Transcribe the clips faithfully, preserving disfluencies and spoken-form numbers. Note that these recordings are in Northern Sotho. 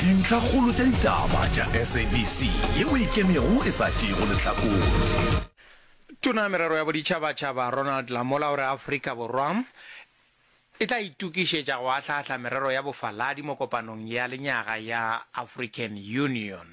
Dintlhakgolo tša ditaba tša S A B C yeo e ikemego e sa tšeego lehlakore. Tona ya Merero ya Boditšhabatšhaba Ronald Lamola o re Afrika Borwa e tla itokišetša go ahlaahla merero ya bofaladi mo kopanong ya lenyaga ya African Union.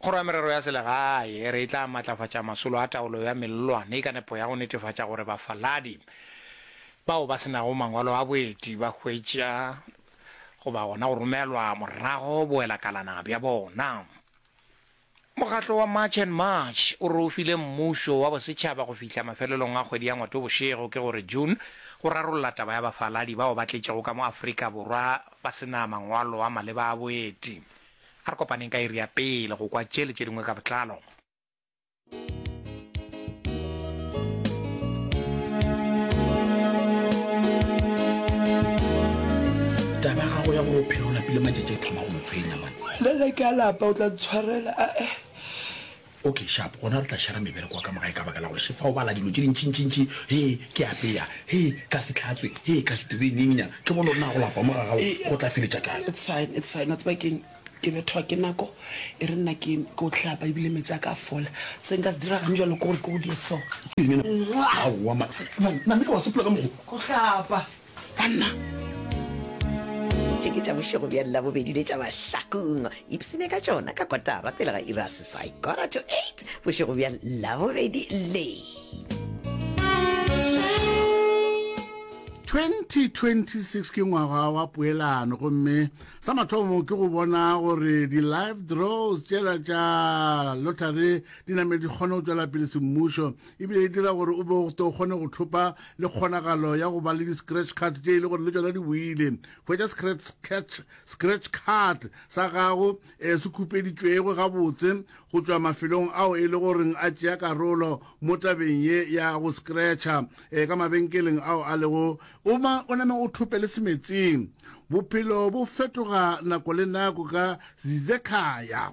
Kgoro ya Merero ya Selegae e re e tla matlafatša masolo a taolo ya mellwane ka nepo ya go netefatša gore bafaladi bao ba se nago mangwalo a boeti ba hwetša goba gona go romelwa morago boelakalana bja bona. Mokgatlo wa March and March o re o file mmušo wa bosetšhaba go fihla mafelelong a kgwedi ya Ngwatobošego, ke gore June, go rarolla taba ya bafaladi bao ba tletšego ka mo Afrika Borwa ba se na mangwalo a maleba a boeti. A re kopaneng ka iri ya pele go kwa tše le tše dingwe ka botlalo. Taba ya gago ya gore o phela o lapile matšatši e thoma go ntshwenya man. Le ge ke a lapa o tla ntshwarela ae. Okay sharp, gona re tla shera mebereko wa ka mo gae ka baka la gore šefa o bala dilo tše dintšintšintši, hee ke apea, hee ka se hlatswe, hee ka se dire eng eng nyana. Ke bone gore na go lapa mo ga gago go tla feletša kae. It's fine, it's fine, wa tseba keng, ke bethwa ke nako, e re nna ke ke o hlapa ebile meetse a ka a fola. Se nka se dira gane jalo ke gore ke go die so. Eng ena? Aowa man, man, name ka wa sepela ka mokgo. Go hlapa. Banna! Tše ke tša bošego bja Labobedi le tša Mahlakung. Ipsene ka tšona ka kotara pele ga iri ya seswai, quarter to eight, bošego bja Labobedi le. twenty twenty six ke ngwaga wa poelano, gomme sa mathomo ke go bona gore di-live draws tšela tša lottery di name di kgone go tšwela pele semmušo, ebile e dira gore o be o to kgone go thopa le kgonagalo ya go ba le di-scratch card tše e le gore le tšona di boile. Hwetša scratch, catch, scratch card sa gago um se khupeditšwego gabotse go tšwa mafelong ao e le goreng a tšea karolo mo tabeng ye ya go scratcha um ka mabenkeleng ao a lego o ma o name o thope le semetseng. Bophelo bo fetoga nako le nako. Ka Zizekhaya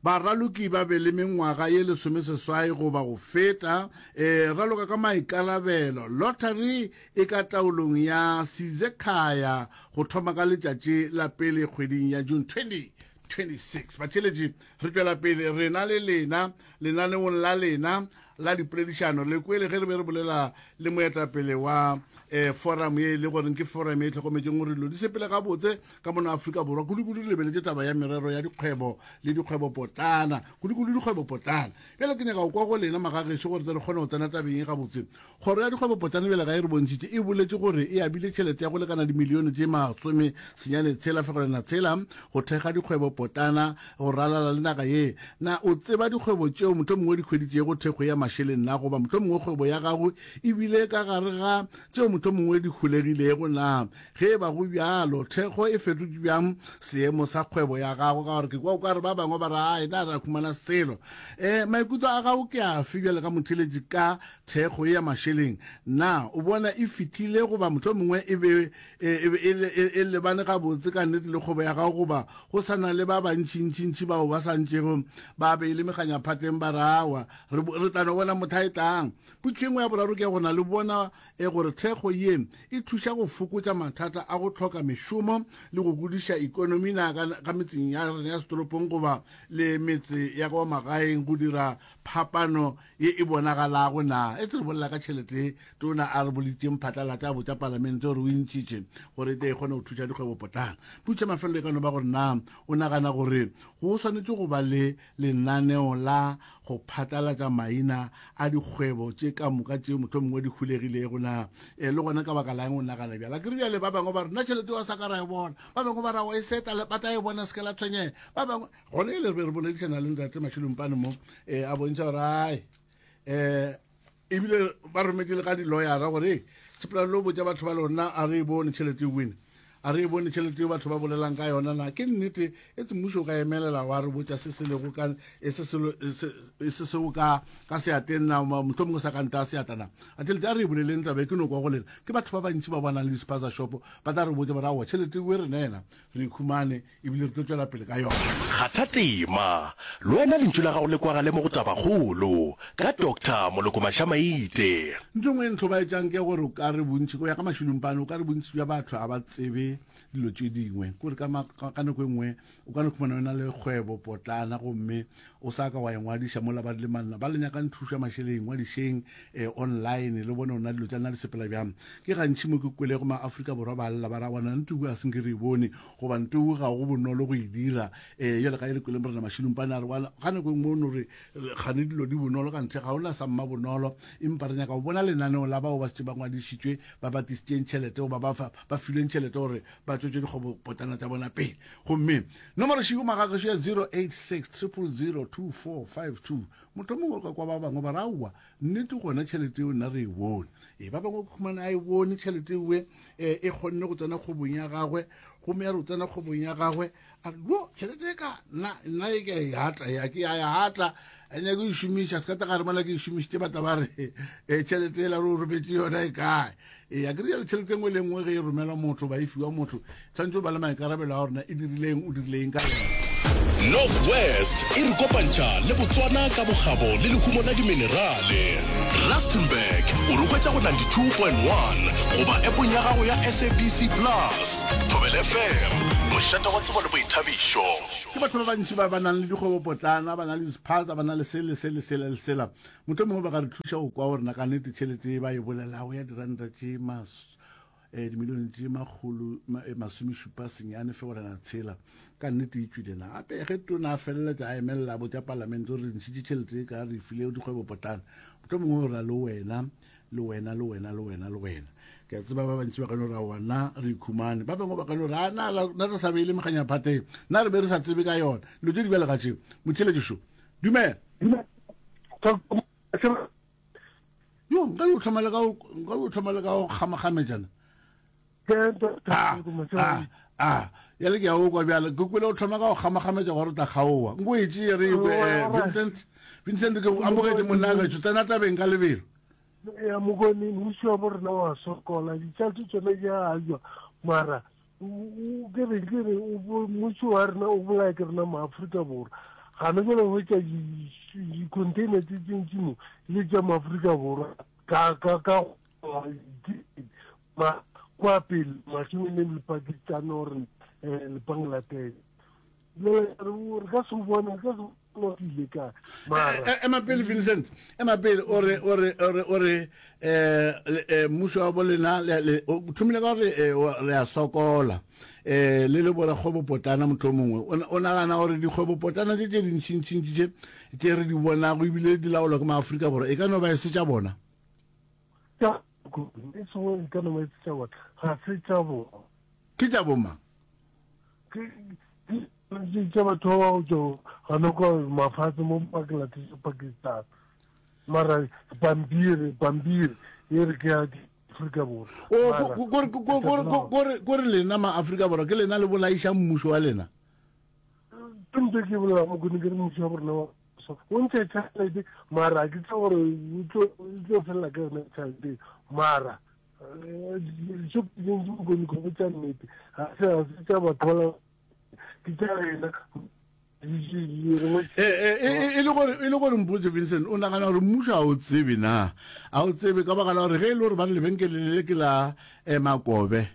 baraloki ba be le mengwaga ye lesomeseswai goba go feta. um raloka ka maikarabelo. Lottery e ka taolong ya Sizekhaya go thoma ka letšatši la pele kgweding ya June twenty twenty-six. Batheletši, re tšwela pele rena le lena lenaneong la lena la dipoledišano. Le kwele ge re be re bolela le moetapele wa um forum ye e le goreng ke forum e tlhokometseng gore dilo di sepele gabotse ka mono Afrika Borwa, kudu-kudu re lebeletše taba ya merero ya dikgwebo le dikgwebopotlana, kudu-kudu dikgwebopotlana. Bjale ke nyaka go kwa go lena magagešo gore tle re kgone go tsena tabeng e gabotse. Kgoro ya dikgwebopotlana bjale ga e re bontšhitše, e boletše gore e abile tšhelete ya go lekana dimilione tše masome senyane tshela fegelwana tshela go thekga dikgwebopotlana go ralala le naga ye. Na o tseba dikgwebo tšeo mohlomongwe di hweditšego thekgo ya mašeleng na, goba mohlomongwe kgwebo ya gago ebile ka gare ga tšeo mohlomongwe di holegilego na? Ge e ba go bjalo, thekgo e fetotše bjang seemo sa kgwebo ya gago? Ka gore ke kwa o ka re ba bangwe ba re ai na ra humana selo. um maikutlo a gago ke afe bjale ka motheletši ka thekgo ye ya mašeleng? Na o bona e fihlile goba mohlomongwe e be e, e, e, e lebane gabotse ka nnete le kgwebo ya gago, goba go sa na le ba bantšintšintši bao ba sa ntšego ba beile meganyaphatleng ba re awa re tla no bona motho a e tlang? Potšo e nngwe ya boraro ke gona le bona e gore thekgo ye e thuša go fokotša mathata a go hloka mešomo le go godiša ikonomi na ka, ka metseng ya rena ya setoropong goba le metse ya kwa magaeng, go dira phapano ye e bonagalago na? E tse re bolela ka tšhelete tona a re boleditšeng phatlalatša a botša palamente gore o e ntšhitše gore e tle e kgone go thuša dikgwebopotlana. Potšo ya mafelelo e ka no ba gore na o nagana gore go swanetše go ba le lenaneo la go phatlalatša maina a dikgwebo tše ka moka tše mohlomongwe di hulegilego na, e le gona ka baka lang o nagana bjala? Ke re bjale ba bangwe ba re nna tšhelete wa sa ka ra e bona, ba bangwe ba ra wa e seta ba tla e bona, se ke la tshwenyega. Ba bangwe gona e le re be re boledišana le ntate Mašelompane mo um a bontšha gore ai um ebile ba rometše le ka di-lawyera gore sepela lo botša batho ba lona a re e bone tšhelete e win, a re e bone tšhelete eo batho ba bolelang ka yona. Na ke nnete e tse mmušo o ka emelela wa re botša se se lego ka e se se seo ka ka seateng na, mohlomongwe sa ka nta seatla na? A tšhelete a re e boleleng taba e ke no kwa go lena. Ke batho ba bantši ba bonang le di-spaza shop ba tla re botša ba re aowa tšhelete e rena ena re ikhumane ebile re tlo tšwela pele ka yona. Kgatha tema, le wena lentšu la gago le kwagale mo go Tabakgolo ka Doctor Moloko Mašamaite. Ntho e nngwe e ntlhobaetšang ke gore o ka re bontši, go ya ka Mašilumpane, o ka re bontši bja batho ga ba tsebe dilo tše dingwe. Kore ka, ka nako e nngwe o ka no khumana o na le kgwebo potlana gomme o sa ka wa e ngwadiša mola ba le manna ba le nyakang thušo ya mašeleng, ngwadišeng eh, online le bone gona dilo tša lena di sepela bjang. Ke gantši mo ke kwelego ma-Afrika Borwa ba lla ba ra bona ntuku a senke re e bone goba ntuku ga go bonolo go e dira. Eh, jale ga e le kwele Morena Mašilumpane a re wa ga nako e nngwe o no re gane dilo di bonolo ka ntle ga ona sa mma bonolo, empa re nyaka go bona lenaneo la bao ba šetše ba ngwadišitšwe ba ba tlišitšeng tšhelete goba ba ba filweng tšhelete gore ba tšwetše dikgwebopotlana tša bona pele. Gomme nomoro šego magagešo ya zero eight six triple zero two four five two. Motho mongwe o ka kwa ba bangwe ba re aowa nnete gona tšhelete eo nna re e bone. E ba bangwe khumana a e bone tšhelete ewe e, e kgonne go tsena kgwebong ya gagwe, gomme ya re o tsena kgwebong ya gagwe a re yo tšhelete e ka nna nna e ke e atla ya ke ya ya atla a nyake e šomiša se ka tla gare mola ke e šomišitše ba tla ba re e tšhelete ela re o rometse yona e kae. Ee, a ke re tšhelete nngwe le nngwe ge e romelwa motho ba e fiwa motho tshwanetse o ba le maikarabelo a gorena e dirileng o dirileng ka yona. North West e re kopantšha le Botswana ka bokgabo le lehumo la diminerale. Rustenburg o re hwetša go ninety two point one goba appong ya gago ya S A B C Plus. Thobela F M, mošate wa tsebo le boithabišo. Ke batho ba bantši ba ba nang le dikgwebopotlana, ba na le dispaza, ba na le se le se le sela le sela. Mohlomongwe ba ka re thuša go kwa gore na ka nnete tšhelete ye ba e bolelago ya diranta tše mas, eh, dimilione tše makgolo ma, eh, masomešupa senyane fegelwana tshela ka nnete e tšwile na. Gape ge tona a feleletša a emelela a botša palamente gore re ntšhitše tšhelete e ka re e file dikgwebopotlana, mohlomongwe o ra le wena le wena le wena le wena le wena. Ke a tseba ba bantši ba ka no re aowa na re ikhumane, ba bangwe ba ka no re a na na re sa beile meganyaphateng, na re be re sa tsebe ka yona. Dilo tše di bjalo ka tšeo. Motheeletši šo, dumela. Yo, nka yo thoma le ka nka yo thoma le ka go kgamakgametšana. Ah, ah, ah. Ya le ke ya o kwa bjale, ke kwele o thoma ka go kgamakgametša gore o tla kgaowa. Nko e tšee re kwe, eh, Vincent, Vincent ke amogetše monna gešo, tsena tabeng ka lebelo. Ya mokone, mmušo wa bo rena wa sokola, ditšhelete tšona di a ajwa, mara ke re ke re mmušo wa rena o bolaya ke rena maAfrika Borwa. Gana jwale hwetša di-container tse tse mo le tša maAfrika Borwa ka ka ka ma kwa pele mašemeng le Pakistan or eh, le Bangladesh. Jwale re ka se bone re ka se bone ile ka mara ema pele Vincent, ema pele o re o re o re o re eh mmušo wa bolena le o thomile ka gore re a sokola eh le le borakgwebopotlana motho mongwe o nagana gore dikgwebopotlana tše tše dintšintšintši tše tše re di bonago ebile di laolwa ke maAfrika Borwa e ka no ba e se tša bona. E sengwe e ka no ba e se tša bona, ga se tša bona. Ke tša bomang? Ke tša batho ba ba go tšwa gana kwa mafatshe mo Bangladesh, Pakistan. Mara pampiri, pampiri e re ke ya Afrika Borwa. O kore kore lena ma Afrika Borwa ke lena le bolaiša mmušo wa lena. Ke ntse ke bolela mo ke re mmušo wa borena wa o ntšha tšhelete mara ke tse gore o tlo felela ka yona tšhelete mara so ke mokone go botša nnete ga se ga se tša batho ba ke tša rena. E le gore e le gore mpotse Vincent o nagana gore mmušo a o tsebe na a o tsebe ka baka la gore ge e le gore ba re lebenkele le ke la eh, Makobe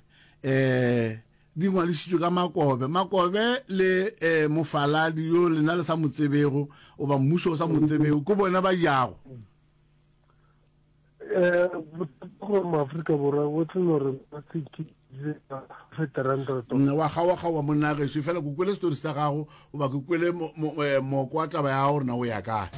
eh di ngwadišitšwe ka Makobe Makobe le eh, mofaladi yo lena le sa mo tsebego goba mmušo o sa mo tsebego ke bona ba jago. Eh, gore maAfrika Borwa o tlo no re ba se ke wa kgawa-kgawa monna gešo fela ke kwele setori sa gago goba ke kwele moko wa taba ya gago gore na o ya kae.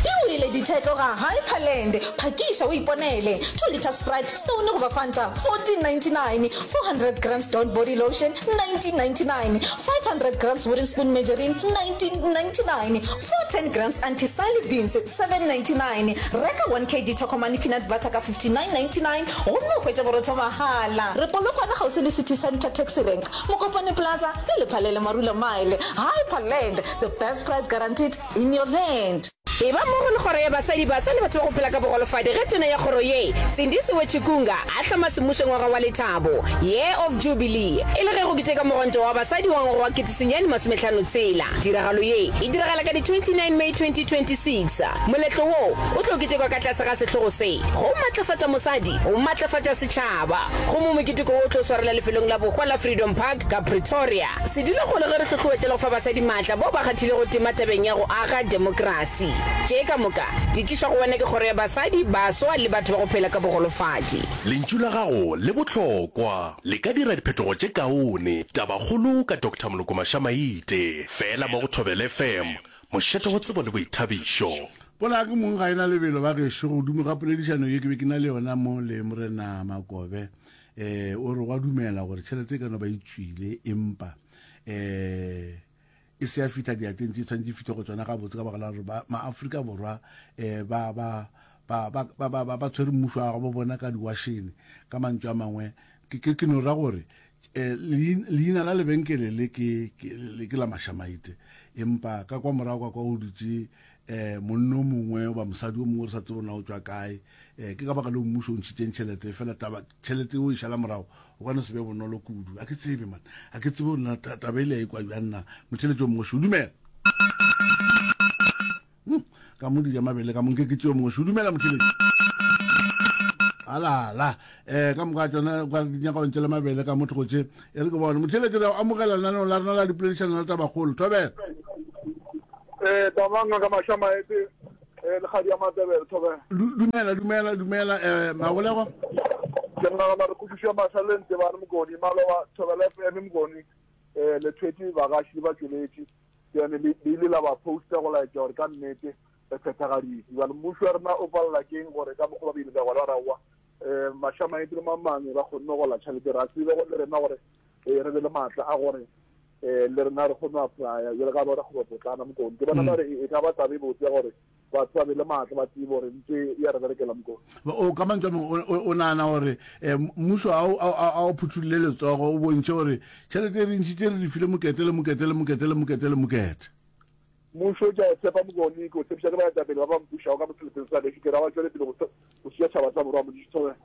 Ke wele ditheko ga Hyperland. Phakiša o iponele. Two litre Sprite, Stone goba Fanta, fourteen ninety-nine, four hundred grams Dawn body lotion, nineteen ninety-nine, five hundred grams Wooden Spoon margarine, nineteen ninety-nine, four ten grams Auntie Sally beans, seven ninety-nine. Reka one kg Tokomane peanut butter ka fifty-nine ninety-nine gomme o hwetše borotho mahala. Re Polokwane kgauswi le City Centre Taxi Rank, Mokopane Plaza le Lephalele Marula Mile. Hyperland, the best price guaranteed in your land. E ba mmogo le Kgoro ya Basadi, Baswa le Batho ba go Phela ka Bogolofadi ge Tona ya Kgoro ye, Sindisiwe Chikunga, a hloma semmušo ngwaga wa lethabo, Year of Jubilee, e le ge go keteka Mogwanto wa Basadi wa ngwaga wa kete senyane masomehlano tshela. Tiragalo ye e diragala ka di twenty nine May twenty twenty six Moletlo wo o tlo ketekwa ka tlase ga sehlogo se, Go Matlafatša Mosadi, Go Matlafatša Setšhaba, gomme moketeko wo o tlo swarelwa lefelong la bohwa la Freedom Park ka Pretoria. Sedulakgolo ge re hlohloetša le go fa basadi maatla bao ba kgathilego tema tabeng ya go aga demokrasi. Tše ka moka di tlišwa go wena ke Kgoro ya Basadi, Baswa le Batho ba go Phela ka Bogolofadi. Lentšu la gago le bohlokwa, le ka dira diphetogo tše kaone. Tabakgolo ka Doctor Moloko Mashamaite, feela mo go Thobela F M, mošate wa tsebo le boithabišo. Polaya ke mong ga e na lebelo ba gešo. Godimo ga poledišano ye ke be ke na le yona mo le Morena Makobe, um o re wa dumela gore tšhelete e ka no ba e tšwile empa um e se ya fihla diateng tše tshwanetse e fihle go tsona gabotse ka baka la gore ba maAfrika Borwa um ba ba ba ba ba ba ba ba tshwere mmušo wa gabo bona ka diwašene. Ka mantšu a mangwe ke ke ke no ra gore um leina la lebenkele le ke ke ke la Mashamaite empa ka kwa morago ka kwa go dutše um monna o mongwe goba mosadi o mongwe re sa tsebe na o tšwa kae. Um ke ka baka leo mmušo o ntšhitšeng tšhelete fela taba tšhelete o e šala morago o ka no se be bonolo kudu. A ke tsebe man, a ke tsebe gore na taba e le ya ikwa bjang na. Motheletši o mongwe šo dumela. Hmm, ka mo dija mabele ka mo nke ke tšeo mongwe šo dumela motheletši. Alala um ka moka tsona ka di nyaka go ntšela mabele ka motho go tše e re ke bone motheletši re amogela lenaneong la rena la dipoledišano la tabakgolo thobela. Eh, tabanga ka mashamaete eh le kgadi ya Matebele thobela. Dumela dumela dumela eh Magolego. Ke nagana re kwešišo ya mahla le Ntebane Mokoni maloba Thobela F M Mokoni eh le thwetše bagaši le batšweletši yone le ile la ba posta go laetša gore ka nnete re phethagaditše. Bjale mmušo wa rena o palela keng gore ka mokgwa ba ile ka gona ra wa eh mashamaete le mamangwe ba kgonne go la tšhelete ra tsebe go le rena gore eh re be le maatla a gore eh le rena re kgone go applya jale ka ba re potlana Mokoni. Ke bona ba re e ka ba taba e botse ya gore batho ba be le maatla ba tsebe gore ntse ya re berekela Mokoni. O ka mantšu a mangwe o nagana gore um mmušo a o phuthulle letsogo o bontšhe gore tšhelete e re ntšhitše re di file mokete le mokete le mokete le mokete le mokete. Mmušo ke a o tshepa Mokoni, ke o tshepiša ke baetapele ba ba mpušago ka moseleteng sa gešo, ke ra ba tšwele pele go go sia tšhaba sa Borwa Modiši Thobela.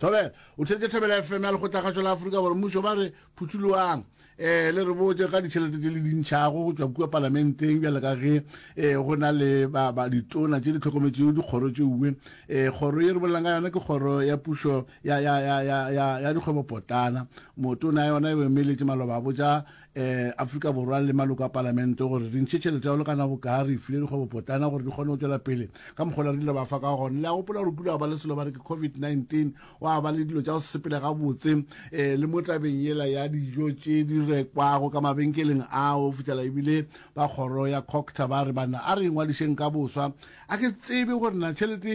Thobela o theetše Thobela F M ya Lekgotlakgašo la Afrika Borwa. Mmušo ba re phuthuloang um le re botše ka ditšhelete tše le di ntšhago go tšwa kua palamenteng bjale ka ge um go na le ba ba ditona tše di hlokometšego dikgoro tše uwe. um Kgoro ye re bolelang ka yona ke kgoro ya pušo ya ya ya ya ya ya dikgwebopotlana. Motona ya yona e emeletše maloba a botša um Afrika Borwa le maloko a palamente gore re ntšhe tšhelete ya go lekana bokaa re file dikgwebopotlana gore di kgone go tšwela pele ka mokgola re ile ba fa ka gona. Le a gopola gore kule ba le selo ba re ke COVID nineteen, wa ba le dilo tša go se sepele gabotse um le mo tabeng yela ya dijo tše di rekwago ka mabenkeleng ao fitlhela ebile ba kgoro ya Cocta ba re bana a re ingwadišeng ka boswa. A ke tsebe gore na tšhelete